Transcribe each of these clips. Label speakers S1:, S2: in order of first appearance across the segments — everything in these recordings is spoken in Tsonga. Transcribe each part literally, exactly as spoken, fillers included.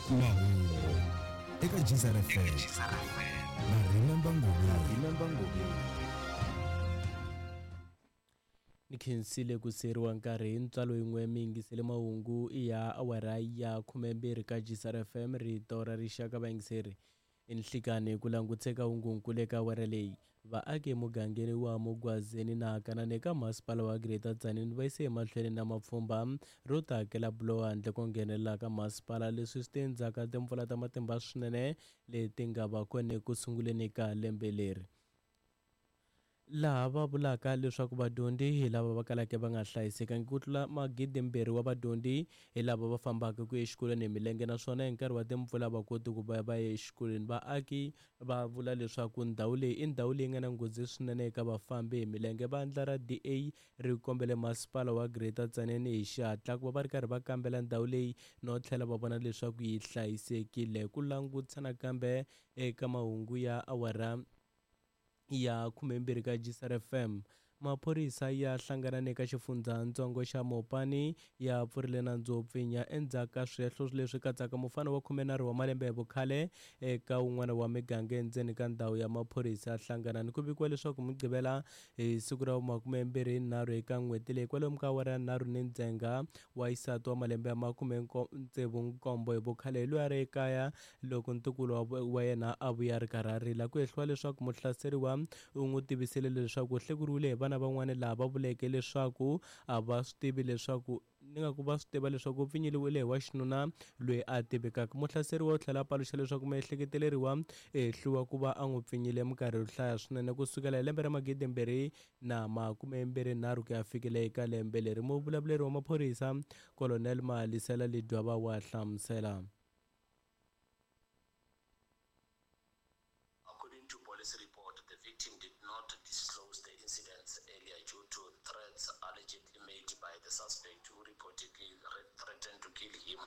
S1: Mahungu eka G S R F M na Remember Ngobeni.
S2: Remember Ngobeni.
S3: Ni khensile ku siyeriwa nkarhi hi ntswalo yin'we. Mi yingisele mahungu ya awara ya khumembirhi ka G S R F M, rito ra rixaka. Vayingiseri, i nhlikani ku languteka hungunkulu eka awara leyi. Vaaki emugangeni wa Mugwazeni na Kanani eka masipala wa Greater Tzaneen va yise emahlweni na mapfhumba ro ta hakela buloho handle ko nghenelela ka masipala. Leswi swi te endzhaku ka timpfula ta matimba swinene leti nga va kona eku sunguleni ka lembe leri, laha va vulaka leswaku vadyondzi hi lava va kalaka va nga hlayisekangi. Ku tlula magidimbirhi wa vadyondzi hi lava va fambaka ku ya exikolweni hi milenge, naswona hi nkarhi wa timpfula va koti ku va va ya exikolweni. Vaaki va vula leswaku ndhawu leyi i ndhawu leyi nga na nghozi swinene eka vafambi hi milenge. Vandla ra D A ri kombele masipala wa Greater Tzaneen hi xihatla ku va va ri karhi va kambela ndhawu leyi no tlhela va vona leswaku yi hlayisekile. Ku langutisa nakambe eka mahungu ya awara ya khumembirhi ka G S R F M, maphorisa ya hlangana eka xifundzatsongo xa Mopani ya pfurile nandzu wo pfinya endzhaku ka swihehlo leswi katsaka mufana wa khumenharhu wa malembe hi vukhale eka wun'wana wa miganga endzeni ka ndhawu ya maphorisa ya Hlanganani. Ku vikiwa leswaku Mugqivela hi siku ra makumembirhi nharhu eka n'hweti leyi, kwalomu ka awara ya nharhu ni ndzhenga, wa xisati wa malembe ya makume tsevu nkombo hi vukhale hi loyi a ri ekaya loko ntukulu wa wa yena a vuya a ri karhi a rila. Ku hehliwa leswaku muhlaseriwa u n'wi tivisile leswaku u hlekuriwile hi vana van'wana, laha va vuleke leswaku a va swi tivi leswaku ni nga ku va swi tiva leswaku u pfinyiliwile hi wa xinuna loyi a tivekaka. Muhlaseriwa u tlhela a paluxa leswaku miehleketeleriwa ehliwa ku va a n'wi pfinyile minkarhi yo hlaya swinene kusukela hi lembe ra magidimbirhi na makumembirhi nharhu ku ya fikela eka lembe leri. Muvulavuleri wa maphorisa, Colonel Malisela Ledwaba, wa hlamusela.
S4: According to police report, the victim did not disclose the incidents earlier due to threats allegedly made by the suspect, who reportedly re- threatened to kill him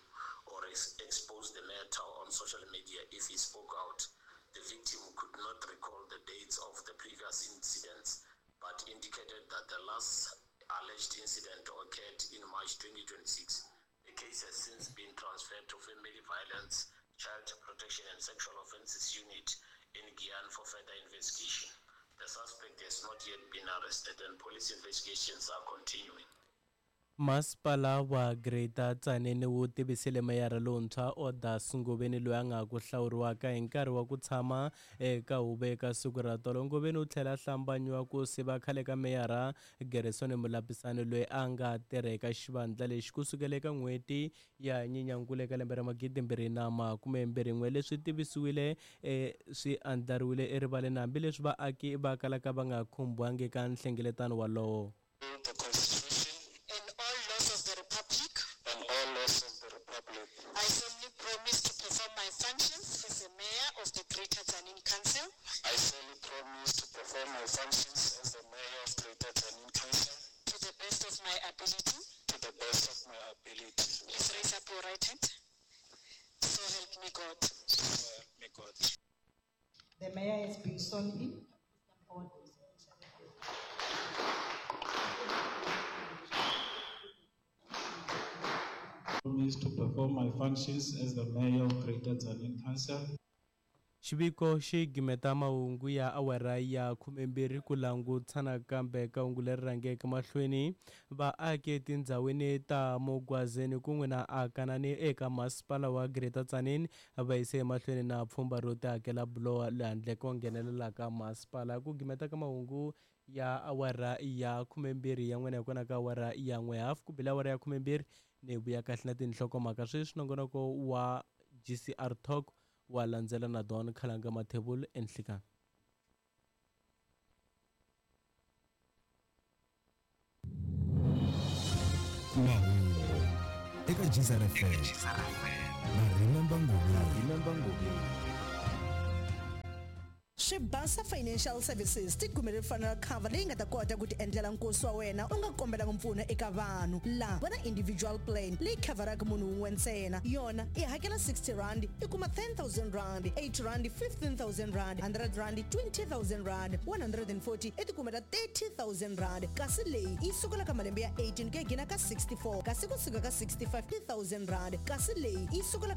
S4: or ex- expose the matter on social media if he spoke out. The victim could not recall the dates of the previous incidents, but indicated that the last alleged incident occurred in March twenty twenty-six. The case has since been transferred to Family Violence, Child Protection and Sexual Offences Unit in Giyani for further investigation. The suspect has not yet been arrested and police investigations are continuing.
S3: Masipala wa Greater Tzaneen wu tivisile meyara lontshwa Odas Ngoveni, loyi a nga ku hlawuriwaka hi nkarhi wa ku tshama eka huvo eka siku ra tolo. Ngoveni u tlhela a hlambanyiwa ku siva khale ka meyara Gerson Mulapisani, loyi a nga tirha eka xivandla lexi kusukela eka n'hweti ya Nyenyankulu eka lembe ra magidimbirhi na makumembirhi n'we. Leswi tivisiwile e swi andlariwile erivaleni, hambileswi vaaki va kalaka va nga khumbiwangi eka nhlengeletano walowo.
S5: The Constitution
S6: and all laws of the Republic.
S5: And all laws of the Republic.
S6: I solemnly promise to perform my functions as the mayor of the Greater Tzaneen Council
S5: I solemnly promise to perform my functions as the mayor of Greater Tzaneen Council
S6: to the best of my ability.
S5: To the best of my ability.
S6: Please raise up your right hand. So help me God.
S5: So help me God.
S7: The mayor has been sworn in. Please come forward for his official address.
S8: Promise to perform my functions as the mayor of Greater Tzaneen Council.
S3: Xiviko xi gimeta mahungu ya awara ya khumembirhi. Ku langutisa nakambe ka hungu leri rhangeke mahlweni, vaaki etindhawini ta Mugwazeni kun'we na Akanani eka masipala wa Greater Tzaneen va yise emahlweni na pfhumba ro tihakela buloho le handle ko nghenelela ka masipala. Ku gimeta ka mahungu ya awara ya khumembirhi ya n'wina hi kona ka awara ya n'we hafu ku bile awara ya khumembirhi ni vuya kahle na tinhlokomhaka. Sweswi nongonoko wa G C R Talk wa landzela na Don Khalanga Mathebulu. Enhlikani.
S1: Mahungu eka G S R F M na Remember Ngobeni.
S2: Remember Ngobeni.
S9: Swibasa Financial Services ti kumele funeral cover leyi nga ta kota ku ti endlela nkosi wa wena u nga kombelanga mpfuno eka vanhu. Laha va na individual plan leyi khavharaka munhu wun'we ntsena. Yona i hakela sixty rand, i kuma ten thousand rand, eighty rand fifteen thousand rand, one hundred rand twenty thousand rand, one hundred forty i ti kumela thirty thousand rand. Kasi leyi yi sukela ka malembe ya eighteen ku ya gina ka sixty-four, kasi kusuka ka sixty-five thousand rand. Kasi leyi yi sukela